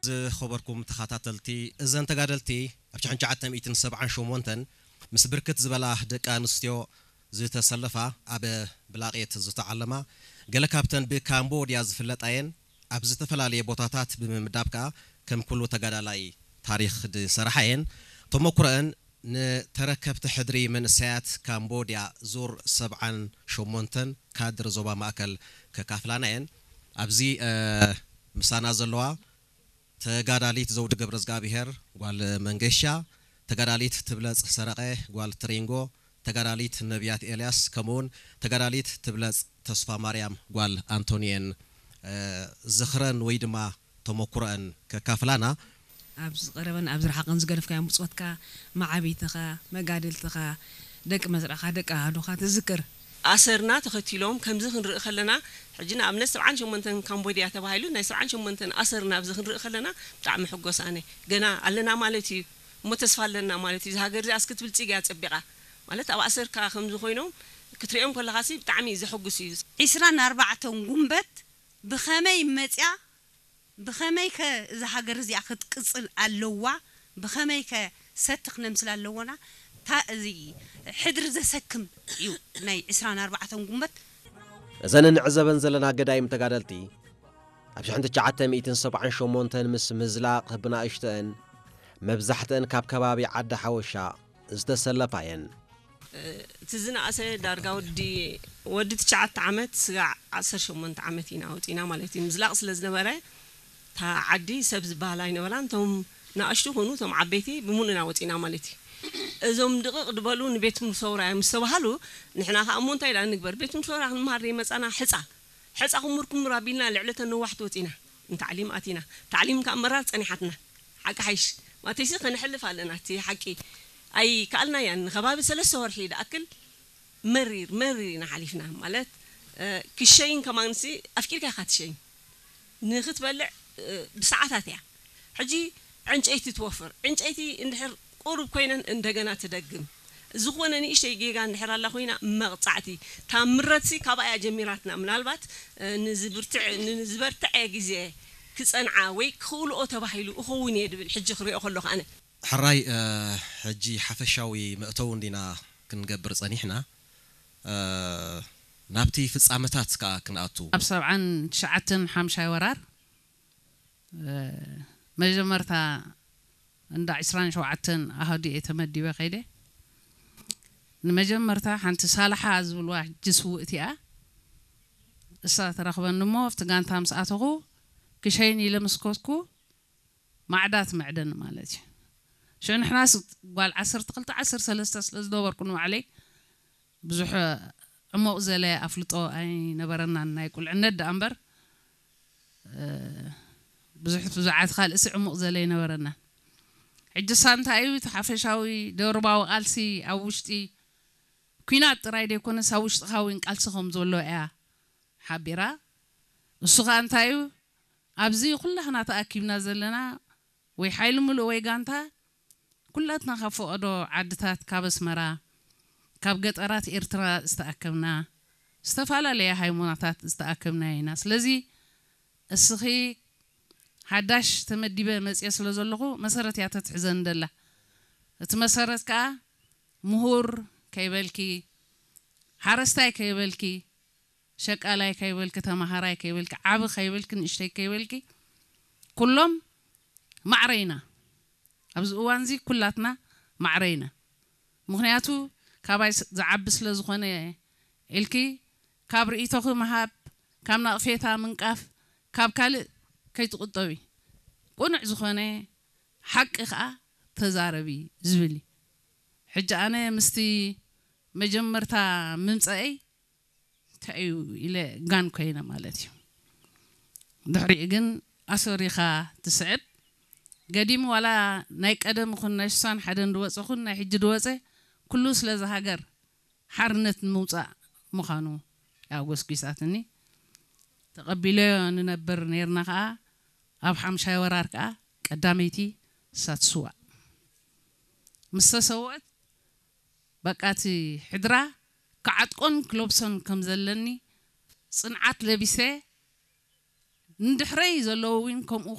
ዝኸበርኩም ተኸታተልቲ፣ እዘን ተጋደልቲ ኣብ ሽሕን ትሽዓተ ሚእትን ሰብዓን ሸሞንተን ምስ ብርክት ዝበላ ደቂ ኣንስትዮ ዝተሰለፋ፣ ኣብ ብላቄት ዝተዓለማ፣ ገለ ካብተን ብካምቦድያ ዝፍለጣ እየን። ኣብ ዝተፈላለየ ቦታታት ብምምዳብ ከኣ ከም ኩሉ ተጋዳላይ ታሪኽ ዝሰርሓ እየን። ተመኩሮአን ንተረከብቲ ሕድሪ መንእሰያት ካምቦድያ ዙር ሰብዓን ሸሞንተን ካድር ዞባ ማእከል ከካፍላና እየን። ኣብዚ፣ እ፣ ምሳና ዘለዋ ተጋዳሊት ዘውዲ ገብረዝጋብሄር ጓል መንገሻ፣ ተጋዳሊት ትብለጽ ሰረቐ ጓል ትሪንጎ፣ ተጋዳሊት ነቢያት ኤልያስ፣ ከምኡውን ተጋዳሊት ትብለጽ ተስፋ ማርያም ጓል ኣንቶኒ እየን፣ እ፣ ዝኽረን ወይ ድማ ተመኩሮአን ከካፍላና። ኣብ ዝቐረበን ኣብ ዝረሓቐን ዝገደፍካዮ ብጾትካ፣ መዓቢትኻ፣ መጋድልትኻ፣ ደቂ መስርዕኻ፣ ደቂ ኣሃዱኻ ትዝክር። ኣሰርና ተኸቲሎም ከምዚ ክንርኢ ከለና፣ ሕጂ ንኣብነት ሰብዓን ሸሞንተን ካምቦድያ ተባሂሉ፣ ናይ ሰብዓን ሸሞንተን ኣሰርና ኣብዚ ክንርኢ ከለና ብጣዕሚ ሕጎስ ኣነ። ገና ኣለና ማለት እዩ፣ እሞ ተስፋ ኣለና ማለት እዩ። እዛ ሃገር እዚኣስ ክትብልጽግ እያ ጸቢቓ። ማለት ኣብ ኣሰርካ ከምዚ ኮይኖም ክትሪኦም ከለኻሲ ብጣዕሚ ዘሐጉስ እዩ። ዒስራን ኣርባዕተን ጉንበት ብኸመይ መጽያ፣ ብኸመይ ከ እዛ ሃገር እዚኣ ክትቅጽል ኣለዋ፣ ብኸመይ ከ ሰቲ ክነምስል ኣለዎና፣ ታ-፣ እዚ ሕድሪ ዘሰክም እዩ ናይ ዒስራን ኣርባዕተን ጉንበት። እዘን እንዕዘበን ዘለና ገዳይም ተጋደልቲ፣ ኣብ ሽሕን ትሽዓተ ሚእትን ሰብዓን ሸሞንተን ምስ ምዝላቕ ብናእሽተን፣ መብዛሕተን ካብ ከባቢ ዓዲ ሓወሻ ዝተሰለፋ እየን። እቲ ዝነኣሰ ዳርጋ ወዲ፣ ወዲ ትሽዓተ ዓመት ስጋዕ ዓሰርተ ሸሞንተ ዓመት ኢና ወፂና ማለት እዩ። ምዝላቕ ስለ ዝነበረ፣ እታ ዓዲ ሰብ ዝበሃል ኣይነበራን። እቶም ንኣሽቱ ኮኑ እቶም ዓበይቲ ብምሉእና ወፂና ማለት እዩ። እዞም ድቕቕ ዝበሉ ንቤት ትምህርቲ ሰውራ እዮም ዝተባሃሉ። ንሕና ከዓ እሞ እንታይ ደኣ ንግበር፣ ቤት ትምህርቲ ሰውራ ክንመሃር ዘይመፃና ሕፃ፣ ሕፃ ክምር ክምር ኣቢልና ልዕሊ እተን ነዋሕቲ ወፂና ንታዕሊም ኣቲና። ታዕሊም ከዓ መራር ፀኒሓትና። ሓቂ ሓይሽ ማተይሲ ከነሕልፍ ኣለና። እቲ ሓቂ ኣይከኣልናያን። ንከባቢ ሰለስተ ወርሒ ዝኣክል መሪር መሪር ኢና ሓሊፍና። ማለት፣ እ፣ ክሸይን ከማንሲ ኣፍቂርካ ኢኻ ትሸይን። ንክትበልዕ፣ እ፣ ብሰዓታት እያ። ሕጂ ዕንጨይቲ ትወፍር። ዕንጨይቲ እንድሕር ቁሩብ ኮይነን እንደገና ትደግም። ዝኾነ ንእሽተይ ጌጋ እንድሕር ኣላ ኮይና መቕጻዕቲ። እታ ምረትሲ ካብኣ እያ ጀሚራትና። ምናልባት፣ እ፣ ንዝብርትዕ-፣ ንዝበርትዐ ግዜ ክጸንዓ ወይ ክኽእልኦ ተባሂሉ እኸውን እየ ድብል ሕጂ ክሪኦ ከለኹ ኣነ። ሕራይ፣ እ፣ ሕጂ ሓፈሻዊ መእተዊ እንዲና ክንገብር ጸኒሕና። እ፣ ናብቲ ፍጻመታት ከኣ ክንኣቱ። ኣብ ሰብዓን ትሽዓተን ሓምሻይ ወራር፣ እ፣ መጀመርታ እንዳ ዒስራን ሸውዓተን ኣሃዱ እየ ተመዲበ ከይደ። ንመጀመርታ ሓንቲ ሳላሓ ዝብልዋ ሕጂ ስውእቲ እያ። እሳ ተረኽበኒ እሞ ኣብቲ ጋንታ ምስ ኣተኹ ክሸይን ኢለ ምስ ከድኩ ማዕዳ ትምዕደኒ ማለት እዩ። ሽዑ ንሕናስ ጓል ዓሰርተ ክልተ ዓሰርተ ሰለስተ ስለ ዝነበርኩ ንባዕለይ ብዙሕ ዕሙቕ ዘለ ኣፍልጦ ኣይነበረናን፣ ናይ ቁልዕነት ደኣ እምበር፣ እ፣ ብዙሕ ብዙዓት ካልእሲ ዕሙቕ ዘለ ኣይነበረናን። ሕጂ ሳ እንታይ እዩ እቲ ሓፈሻዊ ደርባዊ ቃልሲ ኣብ ውሽጢ ኲናት ጥራይ ዘይኮነስ ኣብ ውሽጥኻ እውን ቃልሲ ከም ዘሎ እያ ሓቢራ። እሱ ኸኣ እንታይ እዩ? ኣብዚ ኩላህና ተኣኪብና ዘለና ወይ ሓይሊ ምሉእ ወይ ጋንታ፣ ኩላትና ካብ ፈቐዶ ዓድታት፣ ካብ ኣስመራ፣ ካብ ገጠራት ኤርትራ ዝተኣከብና፣ ዝተፈላለየ ሃይማኖታት ዝተኣከብና ኢና። ስለዚ እስኺ ሓዳሽ ተመዲበ መጽየ ስለ ዘለኹ መሰረት እያ ተትሕዘኒ ደላ። እቲ መሰረት ከኣ ምሁር ከይበልኪ፣ ሓረስታይ ከይበልኪ፣ ሸቃላይ ከይበልኪ፣ ተማሃራይ ከይበልኪ፣ ዓቢ ከይበልኪ፣ ንእሽተይ ከይበልኪ፣ ኩሎም ማዕረ ኢና። ኣብዚ እዋንዚ ኩላትና ማዕረ ኢና። ምኽንያቱ ካባይ ስ-፣ ዝዓቢ ስለ ዝኾነ ኢልኪ ካብ ርእይቶኺ ምሃብ፣ ካብ ናቕፌታ ምንቃፍ፣ ካብ ካልእ ከይትቑጠቢ። ቁኑዕ ዝኾነ ሓቂ ኸኣ ተዛረቢ ዝብል እዩ። ሕጂ ኣነ ምስቲ መጀመርታ ምምጸአይ እንታይ እዩ ኢለ ጋን ኮይነ ማለት እዩ። ድሕሪኡ ግን ኣሰሪኻ ትስዕብ። ገዲም ዋላ ናይ ቀደም ይኹን ናይ ስሳን ሓደን ዝወጸ ይኹን ናይ ሕጂ ዝወጸ ኩሉ ስለዚ ሃገር ሓርነት ንምውጻእ ምዃኑ እያ ጎስጒሳትኒ። ተቐቢለዮ ንነብር ነይርና ከኣ ኣብ ሓምሻይ ወራር ከኣ ቀዳመይቲ እሳ ትስዋእ። ምስ ተሰውአት በቃ እቲ ሕድራ ክዓጥቆን ክለብሶን ከም ዘለኒ ጽንዓት ለቢሰ ንድሕረይ ዘለዉ እውን ከምኡ